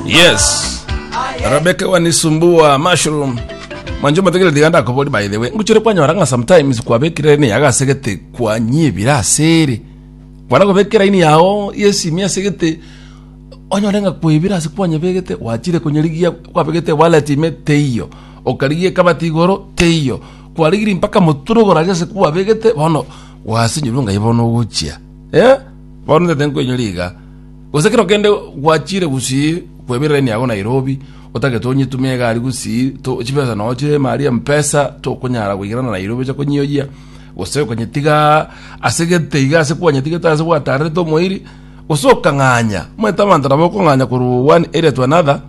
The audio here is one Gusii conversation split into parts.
Yes. Rebecca wanisumbua mushroom. Mwancho mategere tiga ndakobori by the way. Nguchere kwanyora ng'a sometimes kwabekire ne yagasegete kwanyibira asere. Kwana kobekera ini yao yesimi asegete onyore ng'a kwebira ase kwanyebegete gwachire konyerigia kwabegete wallet ime teiyo. Okarigia ekabati igoro teiyo. Kwarigirie mpaka motwe rogoro aria ase kwabegete bono gwasinyirwe ng'ai bono ogochia. Eh? Bono ntete nkoinyora iga. Gose kero kende gwachire gusii kwebera line yago Nairobi, otagete onyetume egari gusii, to chibesa noo chire ime aria mpesa, tokonyara goikerana Nairobi oche konyioyia, gose okonyetiga ase gete iga ase kwanyetigete ase gwatarerete omoiri, gose okang'anya. Omanyete abanto nabo okong'anya korwa one area to another,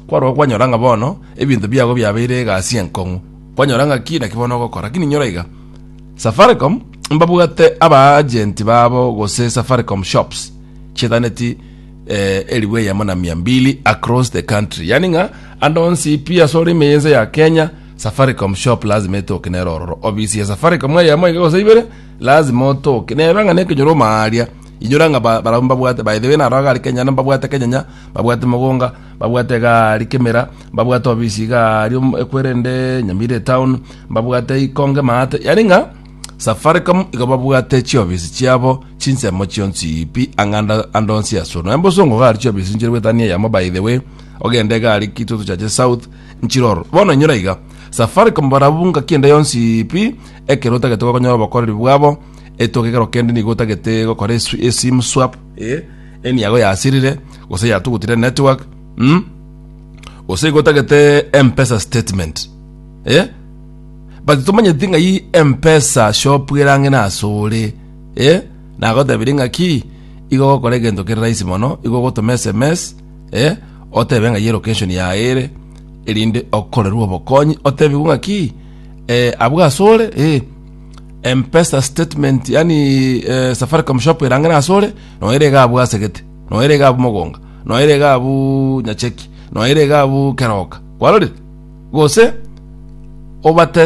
kwarora kwanyora ng'a bono, ebinto biago biabeire egasi enkong'u. Kwanyora ng'a ki naki bono ogokora. Lakini inyora iga, Safaricom mbabwate aba agent babo gose Safaricom shops, chietaneti eh, elifu eyemo na mia mbili across the country yani ng'a ande onsi pi ase ore ime y'ense ya Kenya Safaricom shop lazima etoke nere ororo ofisi ya Safaricom eyemo iga gose ibere lazima otoke nebe ng'a nekenyoro omaaria inyora ng'a ba- barabwo mbabwate by the way naro iga aria Kenya mbabwate Kenyenya mbabwate Mogonga mbabwate iga aria Kemera mbabwate ofisi iga aria ekwerende Nyamira etown mbabwate Ikonge maate yani ng'a Safaricom igo babwate chiofisi chiabo chinsemo chionsi pi ang'anda ande onsi ase ore. Nonya mbosongo iga aria chiofisi nchire goetania eyemo by the way, ogende iga aria Kitutu Chache South nchire ororo. Bono inyora iga, Safaricom barabwo ngaki ende yonsi pi ekero otagete gokonyora obokoreri bwabo, etoke ekero kende nigo otagete gokora esu esim swap eh, eniago yasirire gose yatugutire network mm, gose igo otagete Mpesa statement eh. But tomanyeti ng'ai Mpesa shop ere ang'e nasore eh, nagotebirie ng'aki igo ogokora egento kere rahisi mono, igo ogotoma SMS eh, otebe ng'ai elocation yaye ere, erinde okorerwe obokonyi otebigwe ng'aki eh, abwo asore eh, Mpesa statement yaani eh, Safaricom shop ere ang'e nasore, noyo ere iga abwo asegete, noyo ere iga abwo mogonga, noyo ere iga abwo nyacheki, noyo ere iga abwo keroka, kwarorire? Gose obate.